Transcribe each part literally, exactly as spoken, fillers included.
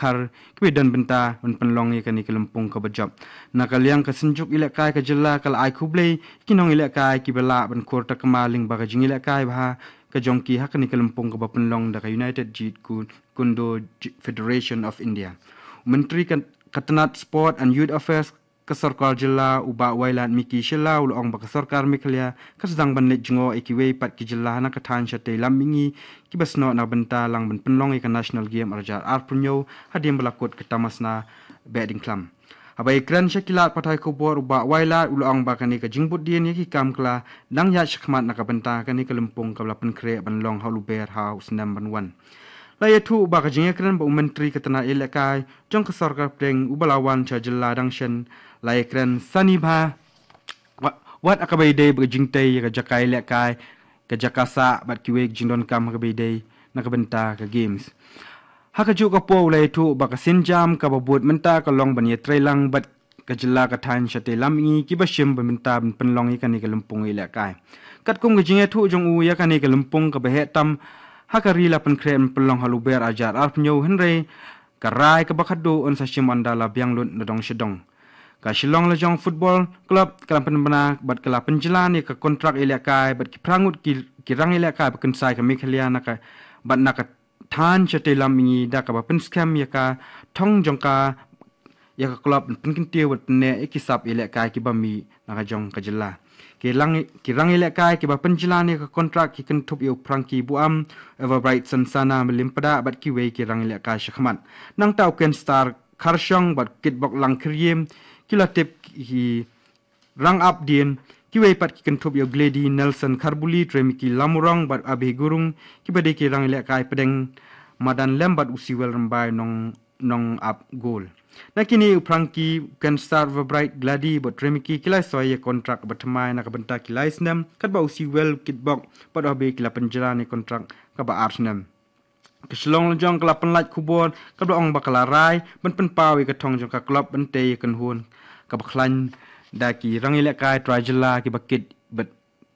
Dkhar kiba don bynta ban pynlong ïa kane ka lympung kaba jop. Na ka liang ka Synjuk Ïalehkai ka jylla ka la ai khublei ki nongïalehkai kiba lah ban khur takma lyngba ka jingïalehkai bha ka jong ki ha kane ka lympung kaba pynlong da ka United Jeet Kune Do Federation of India. U Myntri ka, ka tnat Sport and Youth Affairs ka sorkar jylla u Bah Wailadmiki Shylla u la ong ba ka sorkar Meghalaya ka sdang ban leit jngoh ïa kiwei pat ki jylla na ka thaiñ shatei lam mihngi kiba snoh na bynta lang ban pynlong ïa ka National Game ar hajar arphew hynñiew hadien ba la kut ka tamasna Behdeiñkhlam. Haba ïakren sha ki lad pathai khubor u Bah Wailad u la ong ba kane ka jingbud dien ïa ki kam ka la dang ïaid shakhmat na ka bynta kane ka lympung kaba la pynkhreh ban long ha Lber ha u snem ban wan. La ïathuh ba ka jingïakren bad u Myntri ka tnat ïalehkai jong ka sorkar pdeng uba la wan sha jylla dang shen, la ïakren sani bha wat, wat ha kaba ïadei bad ka jingtei ïa ka jaka ïalehkai, ka jaka sah bad kiwei ki jingdonkam ha kaba ïadei na ka bynta ka Games. Ha kajuh ka por u la ïathuh ba ka sienjam kaba bud mynta ka long ban ïatreilang bad ka jylla ka thaiñ shatei lam mihngi kiba shim bynta ban pynlong ïa kane ka lympung ïalehkai. Katkum ka jingïathuh jong u ïa kane ka lympung kaba heh tam ha ka ri la pynkhreh ban pynlong ha Lber ar hajar arphew hynñiew, hynrei ka rai kaba khadduh yn sa shim ynda la biang lut na dong sha dong. Ka Shillong Lajong Football Club ka la pynbna bad ka la pynjlan ïa ka kontrak ïalehkai bad ki phra ngut ki, ki rangïalehkai ba kynsai ka Meghalaya na ka, bad na ka thaiñ shatei lam mihngi da kaba pynskhem ïa ka thong jong ka ïa ka klub ban pynkyntiew bad pynneh ïa ki sap ïalehkai kiba mih na ka jong ka jylla. Ki rang, ki rangïalehkai kiba pynjlan ïa ka kontrak ki kynthup ïa u Frankie Buam, Everbrightson Sana Mylliempada bad kiwei ki rangïalehkai shakhmat. Nangta u Ken Star Kharshong bad Kitbok Langkhyriem ki la tip ki rang ap dien, kiwei pat ki kynthup ïa u Glady Nelson Kharbuli, Tremiki Lamurong bad Abhi Gurung kiba dei ki rangïalehkai pdeng madan lem bad u Siwel Rymbai Nong, Nongap Gol. Na kine u Frankie, Ken Star, Everbright, Glady bad Tremiki ki la soi ïa kontrak ba thymmai na ka bynta ki lai snem, katba u Siwel, Kitbok bad u Abhi ki la pynjlan ïa kontrak kaba ar snem. Ka Shillong Lajong ka la pynlait khubor kaba la ong ba ka la rai ban pynpaw ïa ka thong jong ka klub ban tei ïa ka kynhun kaba khlaiñ da ki rangïalehkai trai jylla kiba kit bad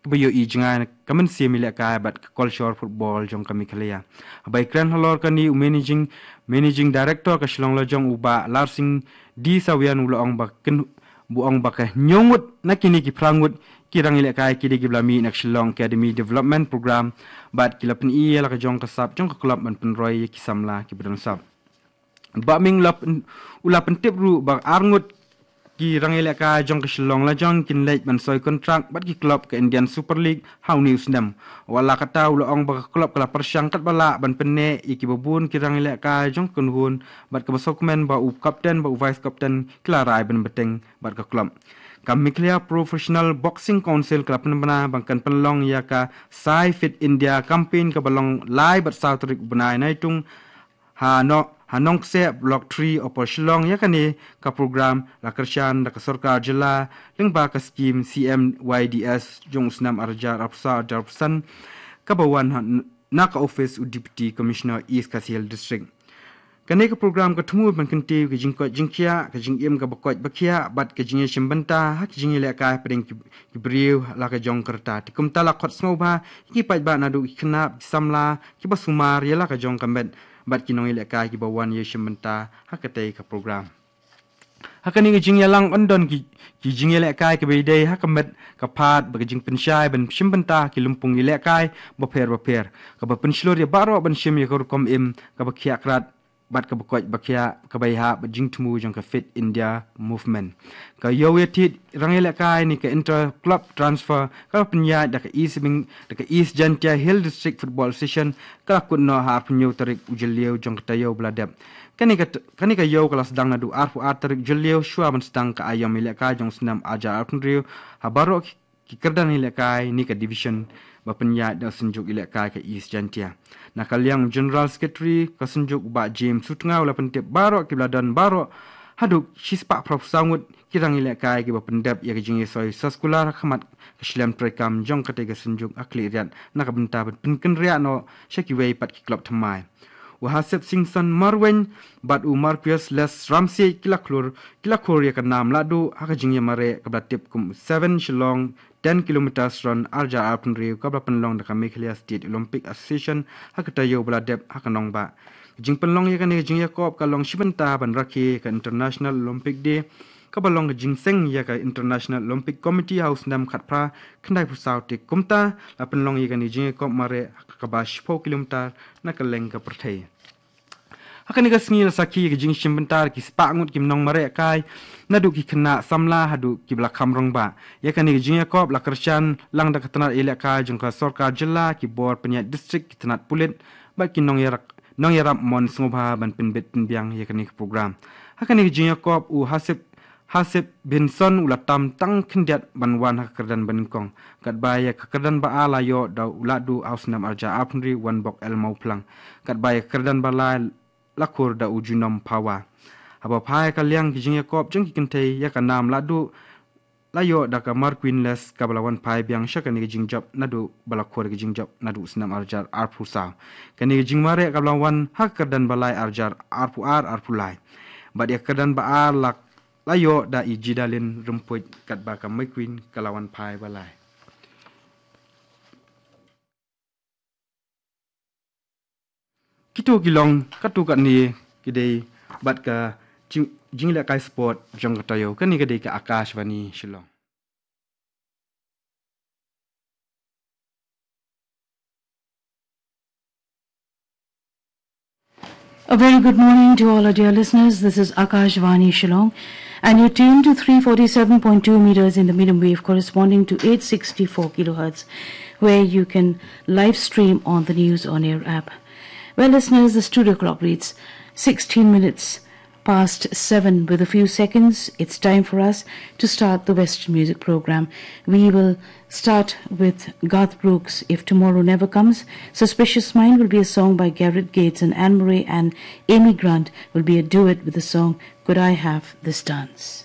kiba ïohi jngai na ka mynsiem ïalehkai bad ka kolshor football jong ka Meghalaya. Haba ïakren halor kane u managing, managing director ka Shillong Lajong u Bah Larsing D Sawian u la ong ba kyn, u ong ba ka hynñiew ngut na kine ki phra ngut ki rangïalehkai ki dei kiba la mih na ka Shillong Academy Development Program bad ki la pyni ïa la ka jong ka sap jong ka klub ban pynroi ïa ki samla kiba don sap. Bah Ming u la pyn, u la pyntip ruh ba ar ngut ki rangïalehkai jong ka Shillong Lajong kin leit ban soi kontrak bad ki klub ka Indian Super League ha une u snem. Wat la katta u la ong ba ka klub ka la pyrshang katba lah ban pynneh ïa kiba bun ki rangïalehkai jong ka kynhun bad kaba sngewkmen ba u kapten bad u vice captain ki la rai ban bteng bad ka klub. Ka Meghalaya Professional Boxing Council ka la pynbna ba kan pynlong ïa ka Sai Fit India campaign kaba long lai bad saw tarik u bnai Naitung ha no, ha Nongkseh Block three Upper Shillong. Ïa kane ka program la kyrshan da ka sorkar jylla lyngba ka skim C M Y D S jong u snem ar hajar arphew saw arphew san kaba wan ha, na ka office u Deputy Commissioner East Khasi Hills District. Kane ka program ka thmu ban kyntiew ka jingkoit jingkhiah, ka jingim kaba koit ba khiah bad ka jingïashim bynta ha ka jingïalehkai hapdeng ki, ki briew la ka jong ka rta. Te kumta la khot sngewbha ïa ki paidbah naduh ki khynnah, ki samla kiba sumar ïa la ka jong ka met bad ki nongïalehkai kiba wan ïashim bynta ha katei ka program. Ha kane ka jingïalang yn don ki, ki jingïalehkai kiba ïadei ha ka met ka phad bad ka jingpynshai ban shim bynta ki lympung ïalehkai bapher bapher kaba pynshlur ïa baroh ban shim ïa ka rukom im kaba khiah krat bad kaba koit ba khiah kaba ïahap bad jingthmu jong ka Fit India Movement. Ka ïew ïatied rangïalehkai ne ka inter club transfer kaba pynïaid da ka East Beng, da ka East Jaintia Hills District Football Association ka la kut noh ha arphew hynñiew tarik u Jylliew jong ka taïew ba la dep. Kane ka, kane ka ïew ka la sdang naduh arphew ar tarik Jylliew shuwa ban sdang ka aïom ïalehkai jong u snem ar hajar arphew hynriew ha baroh ki, ki kyrdan ïalehkai ne ka division ba pynïaid da ka Synjuk Ïalehkai ka East Jaintia. Na ka liang u General Secretary ka Synjuk u Bah James Sutnga u la pyntip baroh kiba la don baroh haduh shispah phraphew saw ngut ki rangïalehkai kiba pyndep ïa ka jingïasoi soskular ha khmat ka shlem treikam jong katei ka Synjuk ha Khliehriat na ka bynta ban pynkynriah noh sha kiwei pat ki club thymmai. U Hasep Singson Marwein bad u Marquis Les Ramsey ki la khlur, ki la khur ïa ka nam lahduh ha ka jingïamareh kaba la tip kum Seven Shillong Ten Kilometers Run ar hajar arphew hynriew kaba la pynlong da ka Meghalaya State Olympic Association ha ka taïew ba la dep ha ka nongbah. Ka jingpynlong ïa kane ka jingïakob ka long shibynta ban rakhe ïa ka International Olympic Day, kaba long ka jingseng ïa ka International Olympic Committee ha u snem khatphra khyndai phew saw te kumta la pynlong ïa kane ka jingïakob mareh kaba shiphew kilometer na kylleng ka pyrthei. Ha kane ka sngi la sakhi ïa ka jingshim bynta da ki spah ngut ki nongmareh kai naduh ki khynnah samla haduh kiba la kham rangbah. Ïa kane ka jingïakob la kyrshan lang da ka tnad ïalehkai jong ka sorkar jylla, ki bor pynïaid district, ki tnad pulit bad ki nongïarap, nongïarap mon sngewbha ban pynbit pynbiang ïa kane ka program. Ha kane ka jingïakob u Hasib Hasib Benson u la tam tang khyndiat ban wan ha ka kyrdan banyngkong. Katba ïa ka kyrdan ba ar la ïoh da u Lahduh ha u snem arhajar arphew hynriew Wanbok L Mawphlang. Katba ïa ka kyrdan ba lai la khur da u Junom Phawa. Haba phai ha ka liang ka jingïakob jong ki kynthei, ïa ka nam Lahduh la ïoh da ka Marqueen Les kaba la wan phai biang sha kane ka jingjop naduh ba la khur ka jingjop naduh u snem arhajar arphew saw. Kane ka jingmareh kaba la wan ha ka kyrdan ba lai arhajar arphew ar arphew lai. Bad ïa ka kyrdan ba ar la la ïoh da i Jidalin Rympuid, katba ka Marqueen ka la wan phai ba lai. Kito ki long katto katne ki dei bad ka jing-, jinglehkai sport jong ka taïew. Kane ka dei ka Akashvani Shillong. A very good morning to all our dear listeners. This is Akashvani Shillong, and you're tuned to three forty-seven point two meters in the medium wave, corresponding to eight sixty-four kilohertz, where you can live stream on the News on Air app. Well, listeners, the studio clock reads sixteen minutes past seven with a few seconds. It's time for us to start the Western music program. We will start with Garth Brooks, If Tomorrow Never Comes. Suspicious Mind will be a song by Gareth Gates, and Anne Murray and Amy Grant will be a duet with the song Could I Have This Dance.